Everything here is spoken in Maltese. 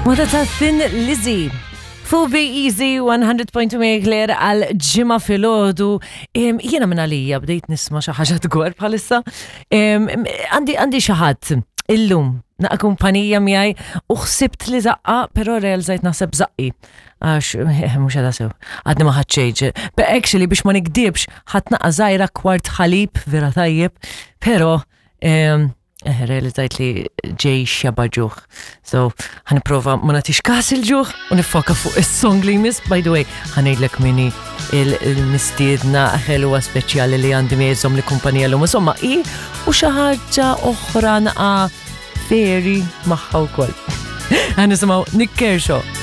Wada ta' Thin Lizzy. Fuq Be Easy 100.2 Claire għal ġimgħa filgħodu. Jiena minn għalija bdejt nisma' xi ħaġa dwar bħalissa. Għandi għandi xi ħadd illum naqa' kumpanija miegħi u ħsibt li zaqqa, però realizzajt naħseb zaqqi. Għax eh, mhux għadha sew. Għadni ma ħadd But actually biex ma nikdibx ħadd naqa' żgħira kwart ħalib vera tajjeb, però Eh, realizzajt li ġej xeba ġuħ. So, ħaniprofa ma nagħtix kas il-ġuħ u nifoka fuq is-song li jmiss. By the way, ħanejdlek minni il-mistiedna ħelwa speċjali li għandi miegħi li kumpanija l-lum. Insomma, i u xi ħaġa oħra naqa' feri magħha wkoll. Ħanisimgħu Nick Kershaw.